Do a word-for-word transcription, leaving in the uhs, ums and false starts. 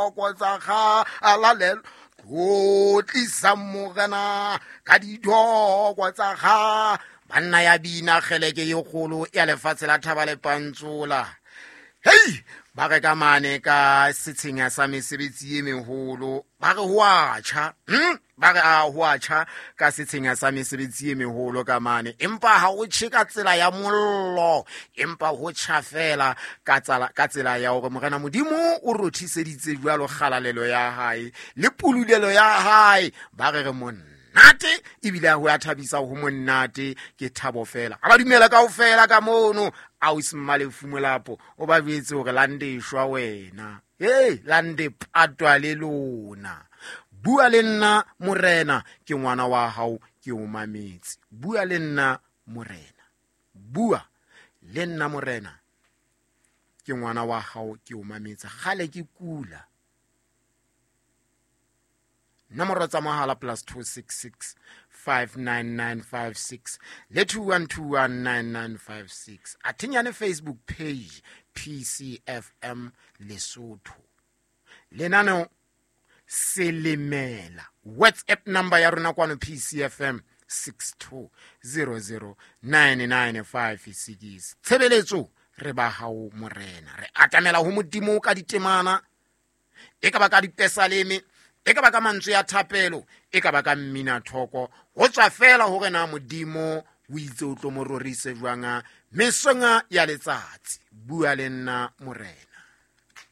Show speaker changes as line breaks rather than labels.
dithoko tsa kgalalelo. Tlotlisa Morena ka dithoko tsa kga. Banna ya bina kgeleke e kgolo ya lefatshe la Thaba le Pantsola. Hei, ba re ka mane ka setsheng sa mesebetsi e meholo, ba re ho a tjha. Hm? Ba re a ho a tjha ka setsheng sa mesebetsi e meholo ka mane, empa ha o tjhe ka tsela ya mollo, empa ho tjha fela ka tsela, ka tsela ya hore Morena Modimo o rothiseditse jwalo kgalalelo ya hae le pululelo ya hae. Ba re re monnate, ebile ho a thabisa ho monnate, ke thabo fela. Ha ba dumela kaofela ka mono, ausi Mmalefu Molapo o ba jwetse hore lande shwa wena. Hey, lande patwa le lona. Bua le nna Morena, ke ngwana wa hao, ke o mametse. Bua le nna Morena, bua le nna Morena, ke ngwana wa hao, ke o mametse. Kgale ke kula. Nomoro tsa mohala plus two six six five nine nine five six le two one two one nine nine five six. Athinyane Facebook page P C F M Lesotho. Lenaneo Selemela. WhatsApp number ya rona kwano P C F M six two zero zero nine nine five six. Tshebeletso re ba hao Morena. Re atamela ho Modimo ka ditemana, e ka ba ka dipesaleme, e ka ba ka mantswe ya thapelo, e ka ba ka mmina thoko. Ho tswa fela hore na Modimo o itse o tlo mo rorise jwang mesong ya letsatsi. Bua le nna Morena.